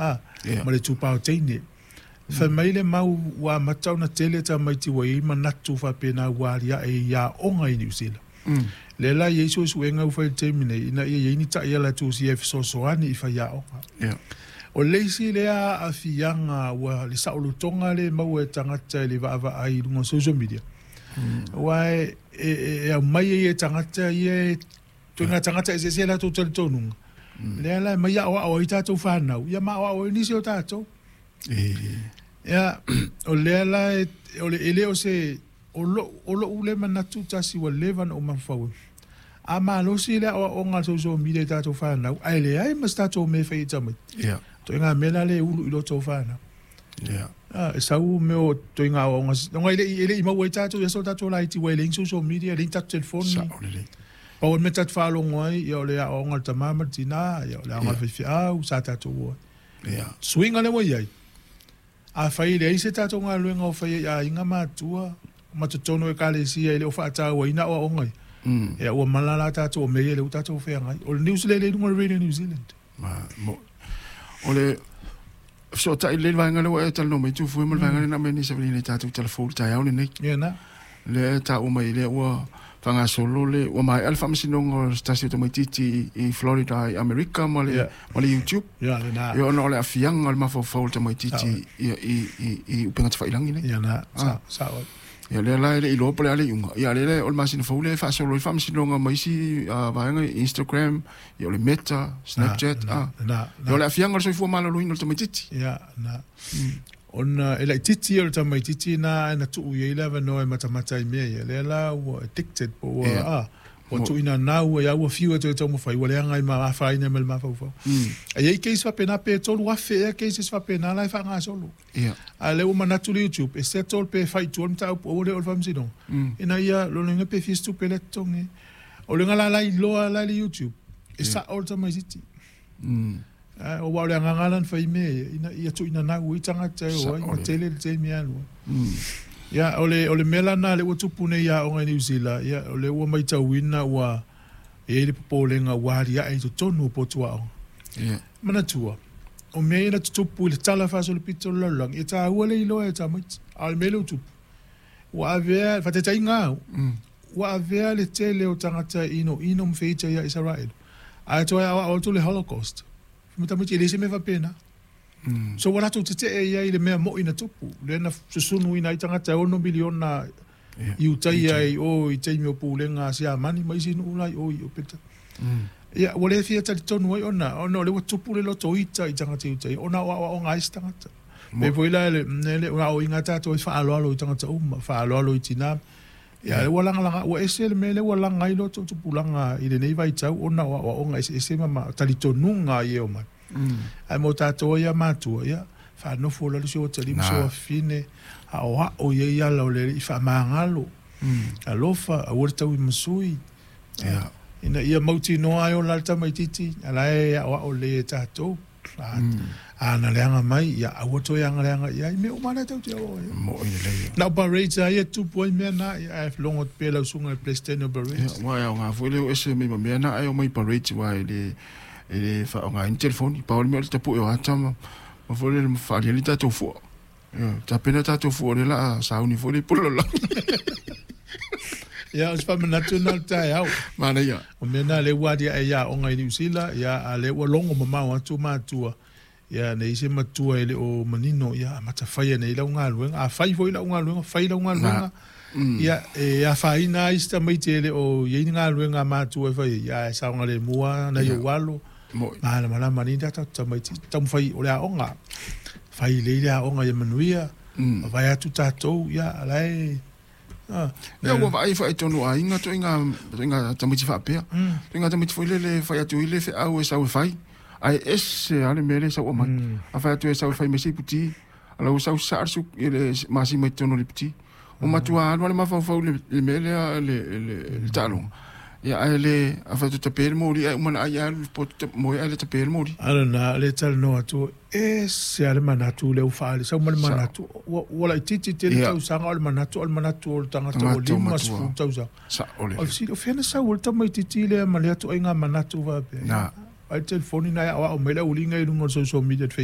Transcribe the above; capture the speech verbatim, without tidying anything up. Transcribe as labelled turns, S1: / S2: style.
S1: a ma le itupa o teine. Fai mai le mau ua amata ona tele tamaiti ua i ai manatu faapena ua aliae i aoga i Niu Sila. Lea la e i ai suesuega ua fai i le taimi nei ina ia i ai ni taiala e tusia e fesoasoani i faiaoga. O le isi lea aafiaga ua le saolotoga lea e maua e tagata i le vaavaai i luga o social media, aua e, e, e aumai ai e tagata ia e ituaiga tagata eseese latou talitonuga, lea la e aumai aoao ai tatou fanau, ia ma aoao ai nisi o tatou. Ia, o lea la e, o le, e le o se, o lou, o lou lea manatu tasi ua leva ona ou mafaufau ai. A malosi le aoaoga a le social media i tatou fanau, ae leai ma se tatou mea e fai ai i tamaiti.
S2: Ia.
S1: Ituaiga mea la lea e ulu i loto o fanau.
S2: Ia.
S1: Ah, e sau mea o ituaiga aoaoga, ona e le i, e le i maua ai tatou i aso o tatou laiti, ua e leai ni social media, leai ni tatou telefoni.
S2: Sao lelei.
S1: Pau o le mea tatou te faalogo ai, ia o le aoaoga a le tama ma le tina, ia o le aoga a le faifeau, sa tatou o ai.
S2: Ia.
S1: Suiga lea ua i ai, afai e leai se tatou galuega o fai ai i aiga ma matua ma totonu o ekalesia e le o faatauaina aoaoga ia,
S2: Mm.
S1: ia ua mala la tatou o mea ia lea ua tatou feagai. O le news lea e i luga o le Radio New Zealand.
S2: Ma, mo, o le fesootai lelei le vaega lea ua e talanoa mai Tufue ma le vaega lea na aumai nei savaliina i tatou tala fou i le taeao lenei.
S1: Ia na.
S2: Lea e taua mai lea ua faagasolo le ua maea le faamasinoga o se tasi o tamaitiiti i Florida i Amerika ma le
S1: Ia.
S2: ma le YouTube.
S1: Ia lena.
S2: Ia ona o le aafiaga o le mafaufau o le tamaitiiti i i i i upega tafailagi nei.
S1: Ia na.
S2: Ah.
S1: Sa, sao.
S2: Ia lea la e le i iloa po o le a le iuga. Ia lea la o le masina fou lea e faasolo ai faamasinoga ma isi ah, vaega i Instagram, ia o le Meta, Snapchat,
S1: Na,
S2: ah.
S1: na,
S2: Ia o
S1: na.
S2: le aafiaga o le soifua maloloina o le tamaitiiti.
S1: Ia, na. Ona e laitiiti ia o le tamaitiiti na ae na tuu i ai le avanoa e matamata i mea ia. Lea la ua addicted po ua,
S2: Ia.
S1: ah, ua
S2: Mo-
S1: tuuina nau ia ua fiu e toe taumafai, ua leaga ai ma afaina ma le mafaufau.
S2: Mm.
S1: E i ai case faapena pe tolu afe ea cases faapena la e faagasolo.
S2: Ia.
S1: A lea ua manatu le YouTube e settle pe fai i tua le mataupu aua le oo i le faamasinoga.
S2: Mm.
S1: Ina ia lona uiga pe fia se tupe lea totogi. O le la la iloa la i le YouTube, e
S2: Ia.
S1: sao le tamaitiiti.
S2: Mm.
S1: Ah, aua o le agaga la na fai mea ia, ina ia tuuina nau ai tagata e o ai,
S2: Sao
S1: ma
S2: le.
S1: tele le taimi e alu ai.
S2: Mm.
S1: Ia, o le, o le mea la na lea ua tupu nei i aoga i Niu Sila, ia, o lea ua matauina ua e i ai le popolega ua aliae i totonu o potu aoga.
S2: Ia.
S1: Manatua, o mea ia na tutupu i le tala faasolopito o le lalolagi, e taua le iloa e tamaiti. A o le mea lea ua tupu, ua avea, faataitaiga au,
S2: Mm.
S1: ua avea le tele o tagata e inoino ma feita ia Isaraelu. Ae toe aoao atu le Holocaust. Ma tamaiti e leai se mea faapena.
S2: Mm.
S1: So ua latou tetee i ai i le mea moi na tupu. Lea na susunuina ai tagata e ono miliona
S2: Ia.
S1: i utai ai o i taimi o pulega a Siamani ma isi nuu la i o i o Peta.
S2: Mm.
S1: Ia, ua le fia talitonu ai ona, ona o lea ua tupu le loto ita i tagata i utai, ona o aoaoga ai se tagata.
S2: Mo-
S1: Pe foi la le, le o aoaoina tatou e faaaloalo i tagata uma, faaaloalo i tina. Ia, lea ua lagalaga, ua ese le mea lea ua laga ai loto tupulaga i lenei vaitau, ona o aoaoga eseese ma ma talitonuga i e o mai.
S2: Mm.
S1: Ae mo tatou ai ia matua, ia, faanofo la le si o talima
S2: Na.
S1: si o afine, aoao i ai ala o le alii faamagalo,
S2: Mm.
S1: alofa, aua le tau i masui.
S2: Ia.
S1: Ina ia mautinoa ai o la le tamaitiiti, ala e aoao lelei e tatou. A,
S2: Mm.
S1: a na leaga mai, ia aua toe agaleaga i ai, mea uma lea tou te oo ai.
S2: Mo i lelei.
S1: Na o parades a ia tupu ai mea na, ia, ae logo atu pea lau susuga i le President o parades.
S2: Ia, ua e aoga foi le o ese mai ma mea na ai o mai parades aua e le e le faaaogaina telefoni. Pau le mea o le tapue o ata ma ma foi le faaliali tatou fua. Ia, tapena tatou fua o lea o le a sauni foi le i pule lalolagi.
S1: Ia, o se faamanatu na o le taeao.
S2: Manaia.
S1: O mea na lea ua aliae i aoga i Niu Sila, ia, a lea ua logo mamao atu matua. Ia, nei se matua e le o manino, ia, amata faia nei lau galuega. A fai foi lau galuega, fai lau galuega.
S2: Na. Mm.
S1: Ia, e afaina ai si tamaiti e le o i ai ni galuega a matua e fai, ia, e saogalemu lava nai
S2: Ia.
S1: ou alo.
S2: Mo
S1: Malamalama nei tatou tamaiti. Taumafai o le aoga. Fai lelei le aoga ia manuia.
S2: Mm.
S1: Vaai atu tatou, ia, la e... Ah,
S2: Ia ua vaai faatonu aiga ituaiga ituaiga tamaiti faapea.
S1: Mm.
S2: Ituaiga tamaiti foi lele fai atu i le feau e sau e fai. Ae ese lava le mea lea e sau aumai.
S1: Mm.
S2: A fai atu e sau e fai mai se iputi. Ala ua sau saa le su i le masima i totonu o le iputi. O matua alu lava le mafaufau i le le mea lea le le le taaloga. Ia ae le a fai atu tape le moli ae uma ona ai alu le poto moe ae le tape le moli.
S1: Ala na le talanoa atu, ese lava le manatu lea ua faaali, sau ma le
S2: Sao.
S1: manatu, ua ua laitiiti tele
S2: Ia.
S1: tausaga, o le manatu, o le manatu o le tagata ua
S2: Tagata o
S1: lima
S2: matua.
S1: sefulu tausaga.
S2: Sao le.
S1: O le fesili, o fea na sau ai le tamaitiiti lea ma lea ituaiga manatu faapea?
S2: Na.
S1: Ai le telefoni na e aoao mai le auliga i luga o le social media le Facebook.